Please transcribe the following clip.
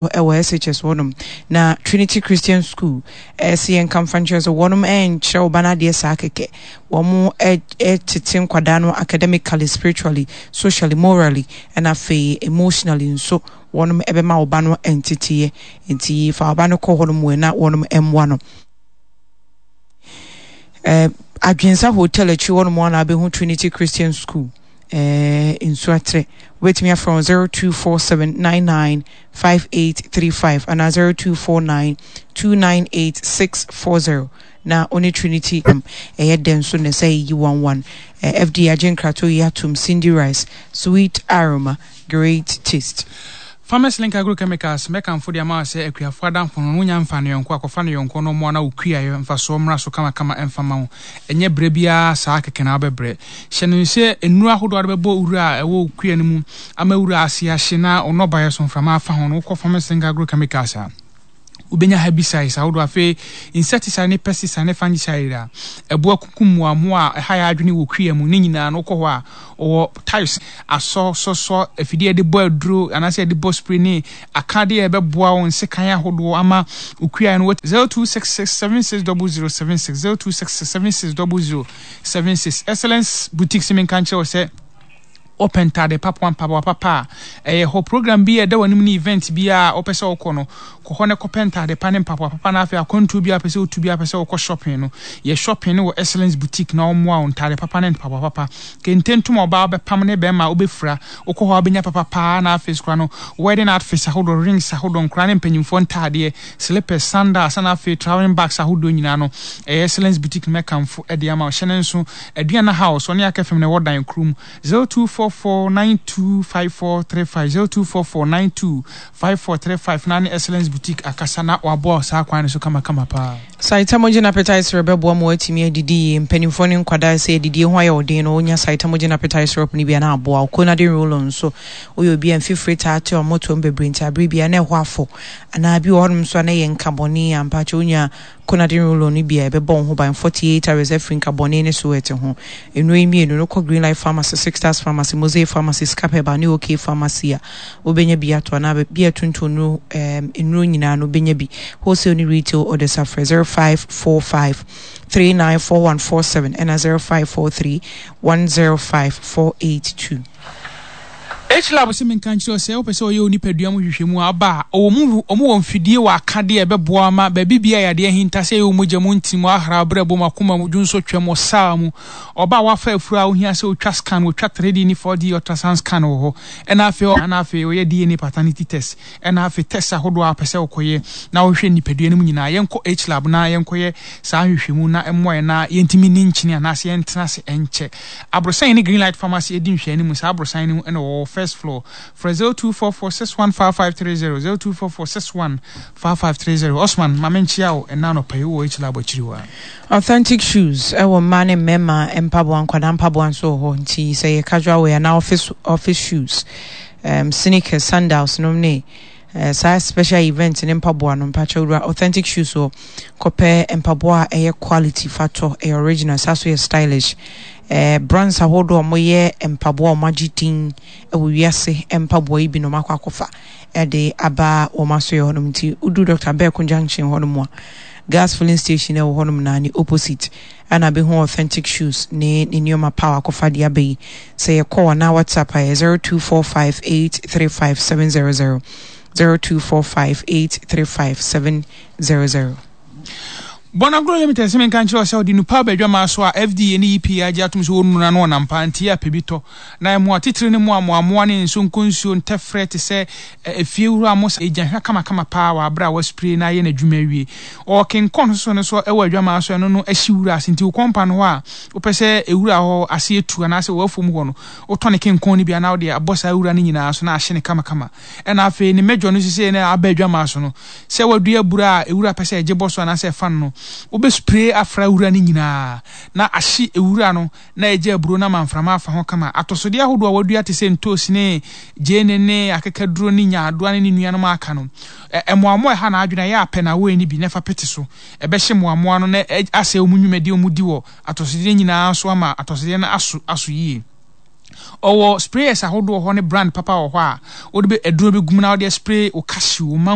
Wɔ SHS hɔnom na Trinity Christian School ɛsɛ yɛn nka mfa nkyerɛ sɛ wɔnom ɛnkyerɛ wo ba no adeɛ saa kɛkɛ. Wɔn ɛtete nkwadaa no academically, spiritually, socially, morally, ɛna afei emotionally nso wɔnom ɛbɛma wo ba no nteteɛ. Nti fa wo ba no kɔ hɔnom wɔ na wɔnom ɛmmoa no. Eh, Adwensa Hotel akyi hɔnom a na abɛhu Trinity Christian School. Eh, Nsuatrɛ. Wobɛtumi afrɛ wɔn 0247995835 anaa 0249298640 na ɔne Trinity ɛyɛ dɛ nso na ɛsɛ yi 11. Eh, FDA agye nkratoɔ yi atom Cindy Rice, sweet aroma, great taste. Farmers Link Agrochemicals mɛkamfo de ama wo sɛ akuafo adamfo no, wonya mfa no yɔnko a, kɔfa no yɔnko na ɔmmoa na wo kuayɛ mfasoɔ mmra so kamakama mfa ma wo. Ɛnyɛ brɛ biara saa kɛkɛ na wobɛbrɛ. Hyɛ no sɛ nnuro ahodoɔ a wode bɛbɔ wura a ɛwɔ wo kua no mu ama wura ase ahye na wo nnɔbaeɛ so mframa afa ho no, wokɔ Farmers Link Agrochemicals a, wobɛnya herbicides ahodoɔ. Afei insecticide ne pesticide ne fungicide a ɛboa kunkum mmoammoa a ɛha yɛ adwene wɔ kua mu ne nyinaa no, wokɔ hɔ a, wɔwɔ types asɔ, sɔsɔ, afidie a yɛde bɔ aduro anaasɛ yɛde bɔ spray ne akadeɛ a ɛbɛboa wo nsekan ahodoɔ ama wo kua no. 0266 760076 0266 760076 Excellence Boutique se menka nkyerɛ wo sɛ wopɛ ntade papa, mpaboa papa a, ɛyɛ hɔ. Program bi a ɛda w'anim ne event bi a wopɛ sɛ wokɔ no, kɔ hɔ na kɔpɛ ntade pa ne mpaboa papa na afei akwantuo bi a wopɛ sɛ wotu bi a wopɛ sɛ wokɔ shopping no, yɛ shopping no wɔ Excellence Boutique na wɔmmoa wo ntade papa ne mpaboa papa. Kente ntoma ɔbaa wobɛpam ne bɛrima a wobɛfira, wokɔ hɔ a wobɛnya papa paa na afei koraa no wedding outfits ahodoɔ, rings ahodoɔ, nkoraa ne mpanyinfoɔ ntaadeɛ, slippers, sandals na afei traveling bags ahodoɔ nyinaa no, ɛyɛ Excellence Boutique no mɛkamfo de ama wo. Hyɛ no nso, Aduana House, ɔne Aka FM na ɛwɔ dan koro mu. 0244925435, 0244925435 na ne Excellence Boutique akasa na waboa wo saa kwan no so kamakama paa. Saitamogen Appetite Syrup bɛboa ma woatumi adidi yie. Mpanimfoɔ ne nkwadaa sɛ adidie ho ayɛ wo den no, wonya Saitamogen Appetite Syrup no bi a na aboa wo. Konadin Roll-On nso, woyɛ obi a mfifire taa te ɔmotoam bebree nti abere biara na ɛhɔ afɔ anaa bi wɔ hɔnom nso a na ɛyɛ nkabɔne a, mpakyɛ wonya Konadin Roll-On no bi a ɛbɛbɔ wo ho ban 48 hours afiri nkabɔne ne sweat ho. Nnuro yi mmienu no, kɔ Greenlight Pharmacy, Six Stars Pharmacy, Mosaic Pharmacy, Scap Herbal ne OK Pharmacy a, wobɛnya bi atɔ anaa baabi a ɛtontɔn nnuro, ɛɛm, nnuro nyinaa no wobɛnya bi. Wholesale ne retail orders a frɛ 0545 394147 ɛna 0543 105 482. H-Lab se menka nkyerɛ wo sɛ wopɛ sɛ wɔyɛ wo nipadua mu nhwehwɛmu a, aba a, ɔwɔ mu, wɔn wɔ mfidie wɔ akadeɛ a ɛbɛboa wo ama baabi biara a yadeɛ ahinta, sɛ ɛyɛ wo mogya mu, ntini mu, ahraw, berɛbo mu, akoma mu, dwonsɔtwa mu, ɔsaa mu. Ɔba a wafa afuru a wohia sɛ wotwa scan, wɔtwa 3D ne 4D ultrasound scan wɔ hɔ, ɛna afei, ɛna afei wɔyɛ DNA paternity test, ɛna afei test ahodoɔ a wopɛ sɛ wokɔyɛ na wohwɛ nipadua no mu nyinaa. Yɛnkɔ H-Lab na yɛnkɔyɛ saa nhwehwɛmu na ɛmmoa yɛn na yɛntumi nni nkyene anaasɛ yɛntena ase nkyɛ. Aborosan ne Greenlight Pharmacy di nhwɛanim. Saa aborosan no mu na wɔwɔ first floor. Frɛ 0244 615530, 0244 615530. Osman, ma menkyea wo ɛnnɛ anɔpa yi, wowɔ H-Lab akyiri hɔ a. Authentic shoes wɔ mmaa ne mmarima mpaboa, nkwadaa mpaboa nso wɔ hɔ nti sɛ ɛyɛ casual wear anaa office office shoes, um, sneakers, sandals nom ne eh, saa special event ne mpaboa no mpakyɛ wura Authentic shoes hɔ kɔpɛ mpaboa a ɛyɛ quality fa tɔ, ɛyɛ original saa so yɛ stylish. Eh, brands ahodoɔ a wɔyɛ mpaboa a wɔagye din wɔ wiase mpaboa yi bi na wɔakɔ akɔfa de aba wɔn asoɛ hɔnom nti wodu Dr. Berko Junction hɔnom a gas filling station ɛwɔ hɔnom na ne opposite ɛna bɛhu Authentic Shoes ne ne nneɛma pa a wakɔfa de aba yi. Sɛ yɛ call anaa WhatsApp a ɛyɛ 0245835700, 0245835700. Bonagro Limited se menka nkyerɛ wo sɛ ɔde nupa aba adwamaa so a FDA ne EPA agye atom sɛ wɔnnura no ɔnam paa nti yɛ a pɛ bi tɔ na ɛmmoa titire no mmoa mmoammoa ne nsonkonsuo ntɛfrɛ te sɛ efiewura mo sa egya hwa kamakama paa wɔ abere a waspray na ayɛ n'adwuma awie. Ɔwɔ kenkɔn soso no so wɔ adwamaa so ɛno no ahye wura ase nti wo kɔmpa no hɔ a wopɛ sɛ ewura hɔ ase etu anaasɛ wɔ afuom hɔ no wotɔ ne kenkɔn no bi anaa wode abɔ saa wura no nyinaa so na ahye no kamakama. Ɛna afei ne mɛdwɔ no sesei na aba adwamaa so no sɛ wadua abura a ewura pɛ sɛ ɛgye bɔ so anaasɛ ɛfa no no wobɛ spray afra wura no nyinaa na ahye ewura no na egya aburow no ama mframa afa ho kama. Atɔsode ahodoɔ a wɔadua te sɛ ntoosi ne gyeene ne akekaduro ne nyaadoa ne ne nuanom a aka no, mmoammoa a ɛha n'adwene a ɛyɛ a pɛ na awɔe no bi na ɛfa pete so. Ɛbɛhye mmoammoa no na asɛe wɔn nnwumadi a wɔdi wɔ atɔsodeɛ nyinaa so ama atɔsodeɛ no aso aso yie. Ɔwɔ sprayers ahodoɔ hɔ ne brand papa wɔ hɔ a wode bɛ aduro bɛgu mu na wode aspray wo cashew, wo mango.